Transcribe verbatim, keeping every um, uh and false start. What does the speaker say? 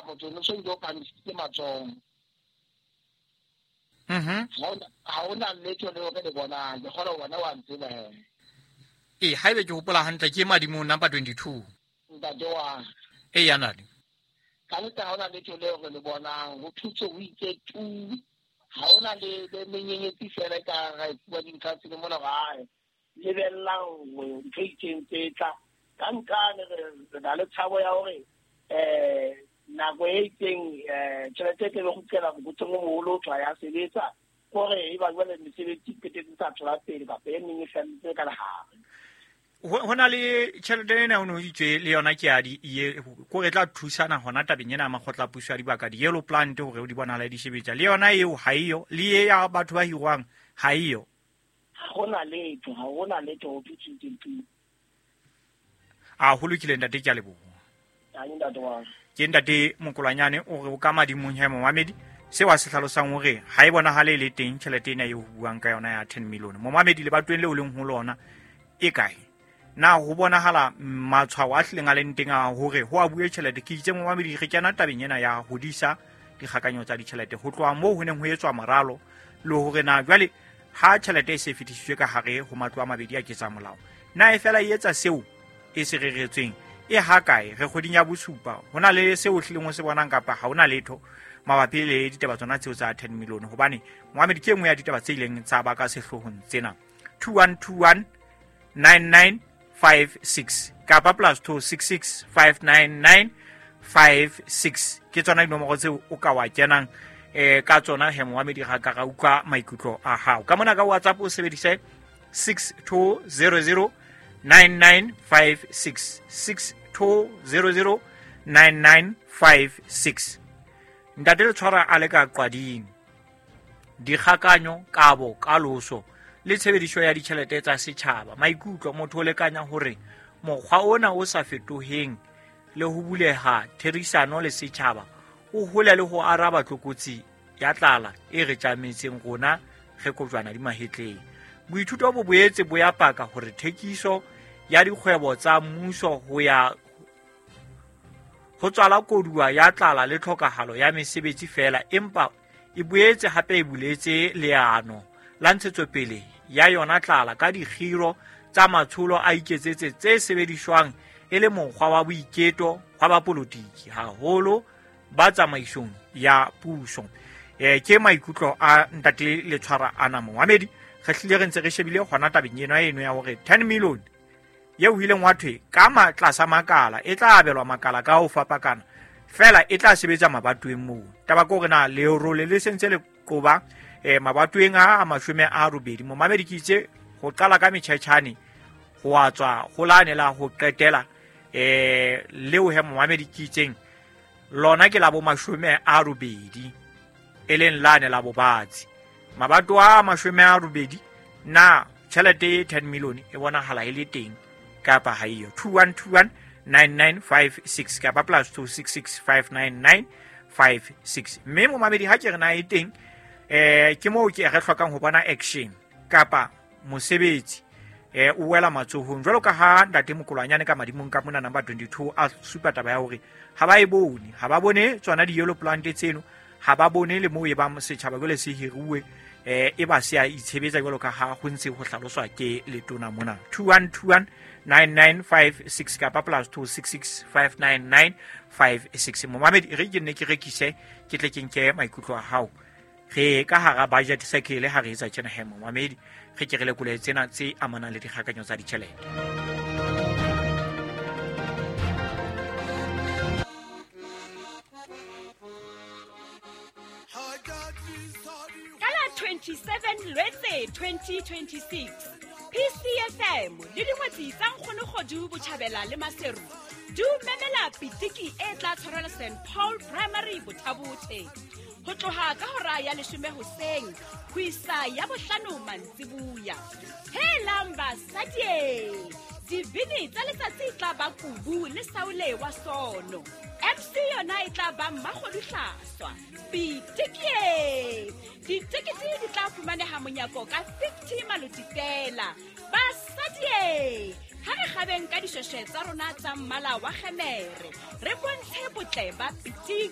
motho no so ile o phamisitse matsoho. Mhm. Ha hona letho leo re le bonang, ke kgolwa wena wa ntseba he. Ee, haebe ke hopola hantle ke madimong number twenty-two. Ntate wa. Ee, ya nale. Ka nnete ha hona letho leo re le bonang, ho thutse ho itse tu. Ha hona le le menyenyetsi fela e ka ra e fuwa dintlha tse le mona hore ae, lebellang hore ntho e itseng tse tla. Ka nkane re re na le tshabo ya hore eh nako e itseng eh tjhelete e tlabe kgutlela mokotleng o moholo o tla ya sebetsa hore e ba jwale mesebetsi e qetetse sa tswela pele kapa e meng e felletse ka lehare. Ho na le tjhelete ena o no itswe le yona ke ya di ye ko re tla thusana hona tabeng ena ya makgotla a puso ya dibaka di yellow plant hore o di bonala di sebetsa le yona eo ha eyo le ye ya batho ba hirwang ha eyo. Ha hona letho, ha hona letho ho thusitse tu. A ho lokile ntate, ke a leboha. Ha ntate wa. Ke ntate Mokolwanyane o re o ka madimong he momamedi seo a se hlalosang hore ha e bonahale le teng tjhelete ena eo ho buang ka yona ya ten million. Momamedi le batweng leo leng ho lona e kae? Na ho bonahala matshwao a hlileng a leng teng a hore ho a bue tjhelete? Ke itse momamedi re kena tabeng ena ya hodisa dikgakanyo tsa ditjhelete ho tloha moo ho neng ho etswa moralo le hore na jwale ha tjhelete e se fetisitswe ka hare ho matlo a mabedi a ketsa molao na e fela e etsa seo e se reretsweng e ha kae? Re kgweding ya bosupa ho na le seo hlileng o se bonang kapa ha hona letho mabapi le ditaba tsona tseo tsa ten million? Hobane momamedi ke e nngwe ya ditaba tse ileng tsa baka sehloohong tsena. Two one two one nine nine five six kapa plus two six six five nine nine five six ke tsona dinomoro tseo o ka wa kenang eh ka tsona he momamedi ga ka ra utlwa maikutlo a hao. Ka mona ka WhatsApp o sebedise six two zero zero nine nine five six six two zero zero nine nine five six. Ntate le tshwara a le ka qwading dikgakanyo kabo kaloso le tshebediso ya ditjhelete tsa setjhaba. Maikutlo motho o lekanya hore mokgwa ona o sa fetoheng le ho buleha therisano le setjhaba o hole le ho araba tlokotsi ya tlala e re tjametseng rona re kojwana di mahetleng. Boithuto bo boetse bo ya paka hore thekiso ya dikgwebo tsa mmuso ho ya ho tswala koduwa ya tlala le tlhokahalo ya mesebetsi fela, empa e boetse hape e buletse leano la ntshetsopele ya yona tlala ka dikgiro tsa matsholo a iketsetse tse sebediswang e le mokgwa wa boiketo wa bapolotiki haholo ba tsamaisong ya puso. Eh ke maikutlo a ntate le tshwara ana momamedi. Re hlile re ntse re shebile hona tabeng ena eno ya hore ten million eo ho ileng wa thwe ka matlasa makala e tla abelwa makala ka ho fapakana fela e tla sebetsa mabatoweng moo. Taba ke hore na lerole le sentse le qoba eh mabatoweng a a mashome a robedi. Momamedi ke itse ho qala ka metjhetjhane ho a tswa ho lane la ho qetela eh leo he momamedi ke itseng lona ke la bo mashome a robedi e leng lane la bobatsi. Mabato a mashome a robedi na tjhelete e ten million e bonahala e le teng kapa ha eyo? Two one two one nine nine five six kapa plus two six six five nine nine five six. Mme momamedi ha ke re na e teng eh ke moo ke re hlokang ho bona action kapa mosebetsi eh o wela matsohong jwalo ka ha ntate Mokolwanyane ka madimong ka mona number twenty-two a supa taba ya hore ha ba e bone, ha ba bone tsona di yellow plant tseno, ha ba bone le moo e ba setjhaba jwale se hiruwe eh e ba se a itshebetsa jwalo ka ha ho ntse ho hlaloswa ke letona mona. Two one two one nine nine five six kapa plus two six six five nine nine five six. Momamedi re ke nne ke rekise ke tle ke nke maikutlo a hao. Re ka hara budget cycle ha re etsa tjena he momamedi re ke re lekole tsena tse amanang le dikgakanyo tsa ditjhelete. twenty-seven Lwetse twenty twenty-six P C F M le dingwetsi tsa Nkgono Kgodu Botjhabela le Maseru di o memela pitiki e tla tshwarelwa Saint Paul Primary Bothabothe ho tloha ka hora ya leshome hoseng ho isa ya bohlano mantsibuya. Helang basadi, dibini tsa letsatsi e tla ba Kubu le Saule wa Sono. M C yona e tla ba Mmakgodu Hlaswa. Pitiki! Ditekete di tla fumaneha monyako ka fifty maloti fela. Basadi, ha re kgabeng ka dishweshwe tsa rona tsa mmala wa kgemere, re bontshe botle ba pitiki.